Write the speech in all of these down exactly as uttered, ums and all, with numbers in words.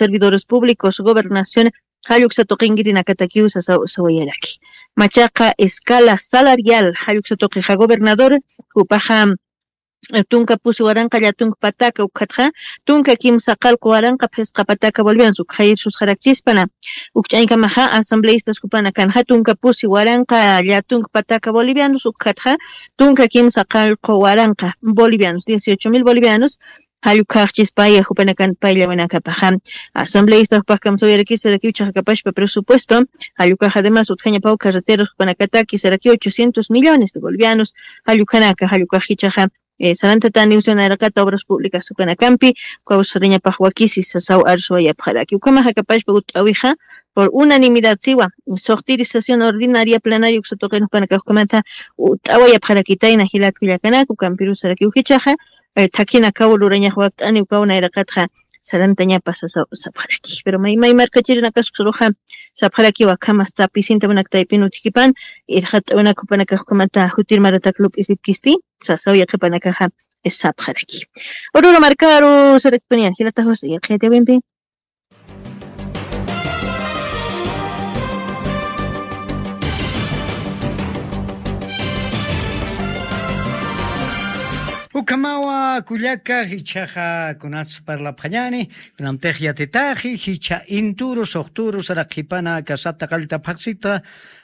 servidores públicos, gobernación, jalluksa tuqinkirinakatakiw sasa sawayaraki. Machaqa escala salarial, jalluksa tuqixa gobernador, jupaxa tunka pusi waranqa llatunk pataka ukhatxa tunka kimsa qallqu waranqa phisqa pataka bolivianos ukxayir susxarakchispana. Ukch'añkamaxa asambleistas jupanakanxa tunka pusi waranqa llatunk pataka bolivianos ukhatxa tunka kimsa qallqu waranqa bolivianos dieciocho mil bolivianos. Jallukhaxchispaya jupanakan payllawanakapaxa. Asambleista jupakkamsa uyarakisarakiw chaqakapashpa presupuesto. Jallukhax ademas utjañapaw carreteros jupanakataki saraki ochocientos millones de bolivianos. Jallukhanaka jallukhax jichaxa sarantatani usanaraqata obras públicas jukanakampi. Kawsariñapax wakisi sasaw arsuwayapxaraki ukhamaxakapashpa ut'awixa por unanimidad siwa. Soxtirisación ordinaria planaria uksatuqin jupanakax ukhamata ut'awayapxarakitayna jilatkullakanak ukampirusarakiw jichaxa. Thakhinakaw lurañax wakt'ani ukaw nayraqatxa sarantañapa sasaw sapxaraki pero may may markachirinakaskuruxa sapxarakiwa akhamasta pisinta munak taypin utjikipan. Irxat'awinak jupanakax ukhamata jutir maratak lup'isipkisti sasaw yaqhipanakaxa sapxaraki. Ururu markaru sarakipuniyan jilataxus yaqhiyatiwimpi. Ukhamawa kullaka jichhaxa kunas parlapxañani. Kunamtix yatitaxi jichha inturu suxturu saraqhipana kasata qallta phaxsita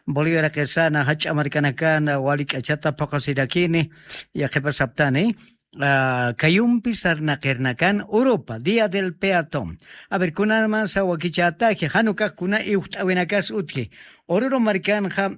boliviaraqisana jach'a markanakan wali k'achata phuqasirakini. Yaqhipasaptani kayumpi sarnaqirnakan urupa día del peatón. A ver kunanman sawakichätaji janukax kuna iwxt'awinakas utji. Ururu markanxa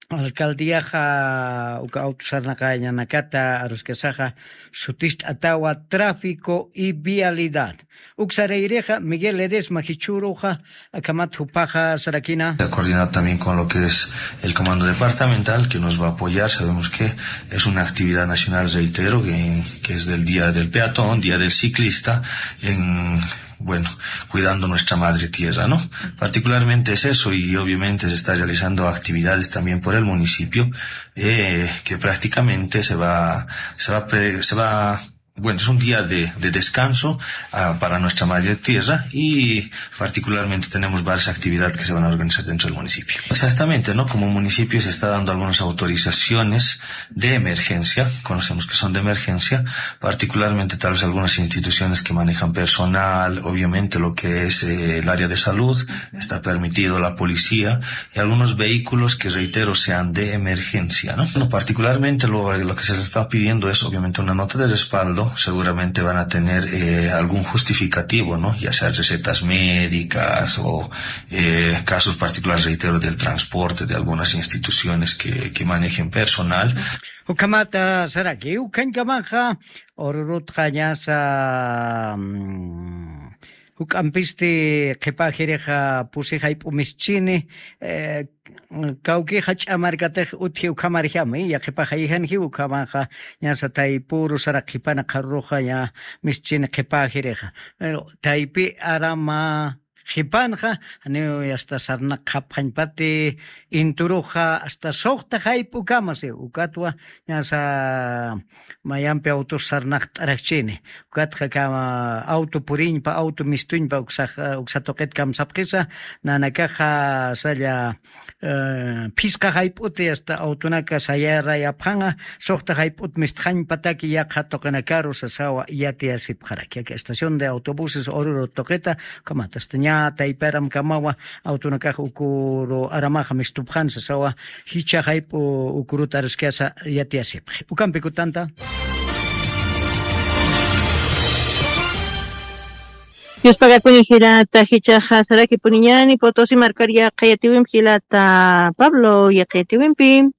alcaldiaxa uka awtu sarnaqañanakata aruskasaxa sutist'atawa tráfico y vialidad. Uksarayrixa miguel ledesma jichhuruxa akhamat jupaxa sarakina. Coordinado también con lo que es el comando departamental que nos va a apoyar. Sabemos que es una actividad nacional, reitero, que, que es del día del peatón, día del ciclista, en bueno, cuidando nuestra madre tierra, ¿no? Particularmente es eso y obviamente se está realizando actividades también por el municipio, eh, que prácticamente se va, se va, a pre- se va, bueno, es un día de, de descanso ah, para nuestra madre tierra y particularmente tenemos varias actividades que se van a organizar dentro del municipio. Exactamente, ¿no? Como municipio se está dando algunas autorizaciones de emergencia, conocemos que son de emergencia, particularmente tal vez algunas instituciones que manejan personal, obviamente lo que es eh, el área de salud, está permitido la policía y algunos vehículos que reitero sean de emergencia, ¿no? Bueno, particularmente lo, lo que se les está pidiendo es obviamente una nota de respaldo, seguramente van a tener eh, algún justificativo, ¿no? Ya sea recetas médicas o eh, casos particulares, reitero, del transporte de algunas instituciones que, que manejen personal. Ukhamata saraki ukhañkamaxa ururutxa ñasa juk'ampisti qhipäjirixa pusi jayp'u mischini. Kawkixa ch'amarkatix utji ukhamarjami yaqhipax jayijanjiw ukhamaxa ñasa taypuru sarak qhipana qharuruxa ña mischini qhipäjirixa. Taypi arama qhipanxa janiw asta sarnaqxapxañpati inturuxa asta suxta jayp'ukama si ukatwa ñasa mayampi awtus sarnaqt'arakchini. Ukatxa kama awtu puriñpa awtu mistuñpa uksa tuqit kamsapxisa nanakaxa salla phisqa jayp'uti asta awtunaka sayarayapxanxa suxta jayp'ut mistxañpataki yaqha tuqinakaru sasawa yatiyasipxaraki aka estación de autobuses ururu tuqita. Ukhamat asta ña taypi aramkamawa awtunakax ukuru aramaxa mistupxan sasawa jichha jayp'u ukuruta aruskasa yatiyasipxi ukampi kutanta. Yuspagakuni jilata jichhaxa sarakipuniñani potosi markar yaqha yatiwimpi jilata pablo yaqha yatiwimpi.